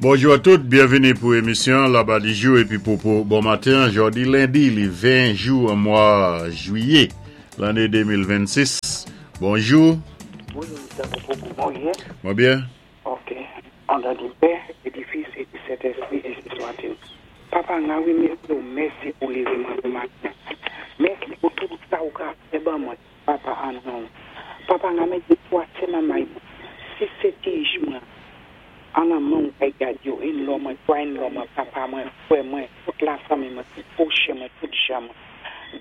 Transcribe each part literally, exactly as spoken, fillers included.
Bonjou a tout, byenvini pou émisyon Laba Dijou épi Popo bon maten. Jòdi lendi, li ven jou an mwa jwiyé, lanné de mil vennsis. Bonjou. Bonjou, Mister Popo, kouman ou yé? Mwen byen. Ok. An non di Pè, é di Fis, é di Sentèspwi, ensi swa-t-il. Papa, nan wi, mèsi, mèsi pou lévé mwen bon maten. Mèsi pou tout sa ou ka fè ban mwen, Papa, an non. Papa, nan mété twa sé manmay mwen, sis sé ti mwen, an nan men ou kay gad yo, in-law mwen, twa in-law mwen, papa mwen, fwè mwen, tout lafanmi mwen, tout pwochen mwen, tout jan mwen.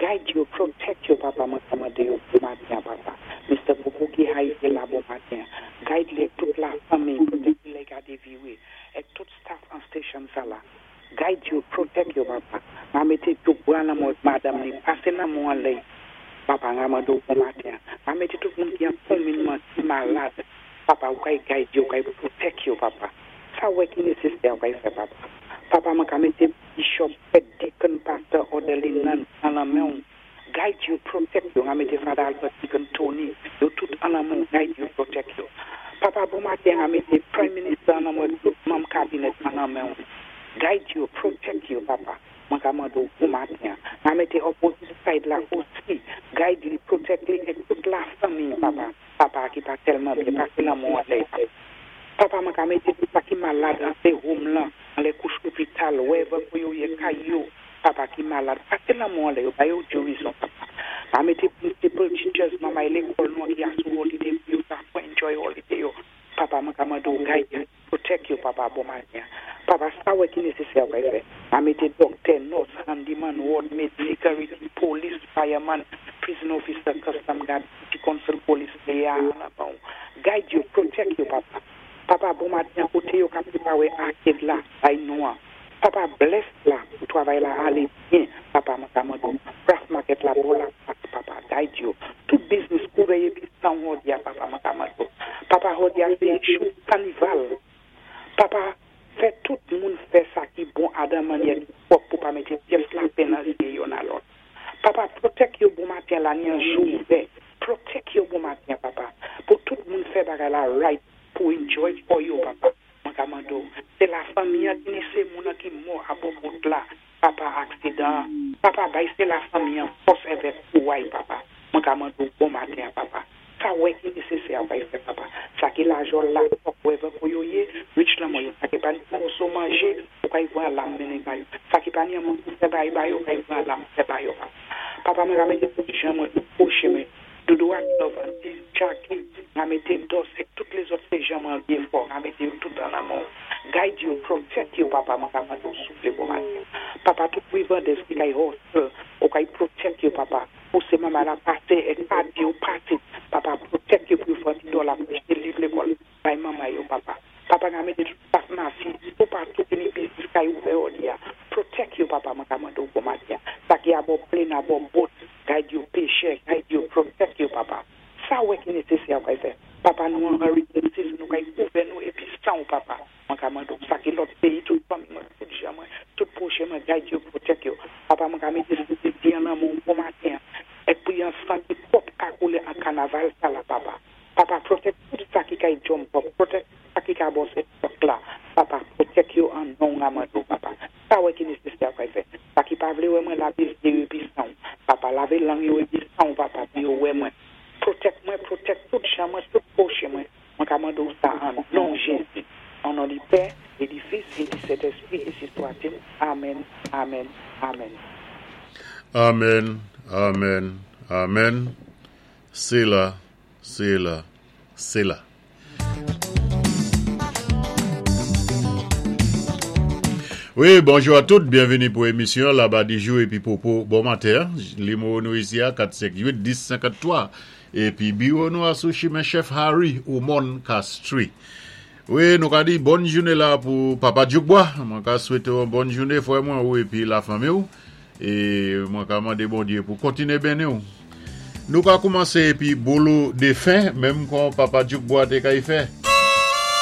Guide yo, protect yo, papa, mwen kòmandé yo bon maten, papa. Mister Popo ki Haiti la bon maten. Guide li tout lafanmi, protect li gade viwe, é tout staff an station sa la. Guide yo, protect yo, papa. Mwen mété tout bwa nan mwen madanm ni, pasé nan mwen an lè. Papa, mwen mande ou bon maten. Mwen mété tout moun ki an konfinman, ki malad. Papa, ou kay guide yo, ou kay protect yo, papa. Sa wè ki nésésè, ou kay fè, papa. Papa, mwen ka mété bishop, deacon, pastor, orderly, nun, an nan men ou. Guide yo, protect yo. Mwen mété Father Albert, Deacon Tony, yo tout an nan men ou, guide yo, protect yo. Papa, bon maten, mwen mété Prime Minister an nan men ou, tout manm cabinet an nan men ou. Guide yo, protect yo, papa. Mwen ka mande ou bon maten. Mwen mété opposite side la osi. Guide li, protect li, é tout lafanmi, papa. Papa ki pa tèlman byen, pasé nan men ou an lè. Papa, mwen ka mété tout sa ki malad an sé home lan, an lè kouch lopital, wherever pou yo yé kay yo, papa ki malad, pasé nan men ou an lè yo, ba yo gerizon, papa. Mwen mété principal teachers, manmay lékòl nou ki asou holiday, pou yo sa pou enjoy holiday yo. Papa, mwen ka mande ou guide yo, protect yo, papa, bon maten. Papa, sa wè ki nésésè ou kay fè. Mwen mété doctor, nurse, handyman, ward maid, security, police, fireman, prison officer, custom guard, city council police, leya, an guide yo, protect yo, papa. Papa, bon maten, koté yo ka préparé arcade la, bay nou an. Papa, bless la, pou travay la alé byen, papa, mwen ka mande ou. Craft market la, bon la, papa, guide yo. Tout business kouvè épi san jòdi a, papa, mwen ka mande ou. Papa, jòdi a, sé jou kanival. Papa, fè tout moun fè sa ki bon adan mannyè ki pwòp pou pa mété pyès lapenn nan zyé youn a lòt. Papa, protect yo bon maten la ni an jou ouvè. Protect yo bon maten, papa. Pou tout moun fè bagay la right pou enjoy pou yo, papa. Mwen ka mande ou. Sé lafanmi an ki ni sé moun an ki mò a bò wout la. Papa, aksidan. Papa, bay sé lafanmi an fòs avèk kouway, papa. Mwen ka mande ou bon maten, papa. Sa wè ki nésésè ou kay fè, papa. Sa ki lajòl la, fòk wherever pou yo yé, rich lan mwen yo. Sa ki pa ni moso manjé, ou kay voye lam mennen ba yo. Sa ki pa ni an moun pou fè bay ba yo, ou kay voye lam fè ba yo, papa. Papa, mwen ka mété tout jan mwen, tout pwochen mwen. Doudou ak Love, Auntie Jackie, mwen mété Dos, é tout lézòt sé jan mwen byen fò, mwen mété yo tout an nan men ou. Guide yo, protect yo, papa, mwen ka mande ou souplé bon maten. Papa, tout rivandès ki kay hustle, ou kay protect yo, papa. Pou sé manman la pasé, é pa di yo pasé, papa, protect yo pou yo fè ti dòla pou achté liv lékòl, bay manman yo, papa. Papa, mwen mété tout staff masi, tout patou ki ni business kay ouvè jòdi a. Protect yo, papa, mwen ka mande ou bon maten. Sa ki a bò plane, a bò boat, guide yo, péchè, guide yo, protect yo, papa. Sa wè ki nésésè ou kay fè. Papa, nou an hurricane season, nou kay kouvè nou épi san ou, papa. Mwen ka mande ou. Sa ki lòt péyi, tout fanmi mwen, tout jan mwen, tout pwochen mwen, guide yo, protect yo. Papa, mwen ka mété sou an nan men ou bon maten. É pou yon san ki pwòp ka koulé an kanaval sa la, papa. Papa, protect tout sa ki kay jump up, protect sa ki ka bosé truck la. Papa, protect yo an non mwen mande ou, papa. Sa wè ki nésésè ou kay fè. Sa ki pa vlé wè mwen lavé zyé yo épi san ou. Papa, lavé lang yo épi san ou, papa, pou yo wè mwen. Protect mwen, protect tout jan mwen, tout pwochen mwen. Mwen ka mande ou sa an non Jézi. An non di Pè, é di Fis, é di Sentèspwi, ensi swa-t-il. Amen, amen, amen. Amen, amen, amen. Séla, séla, séla. Wi, bonjou a tout, byenvini pou émisyon Laba Dijou épi Popo bon maten. Nimewo nou isi a kat senk uit dis senkanntwa. Épi biwo nou a sou chimen Chef Harry ou Mon Castries. Wi, nou ka di bòn jounen la pou Papa Djoukbois. Mwen ka swété yon bòn jounen fwè mwen ou épi lafanmi ou. É mwen ka mandé Bondyé pou kontiné béni ou. Nou ka koumansé épi boulou défen, menm kon Papa Djoukbois té kay fè.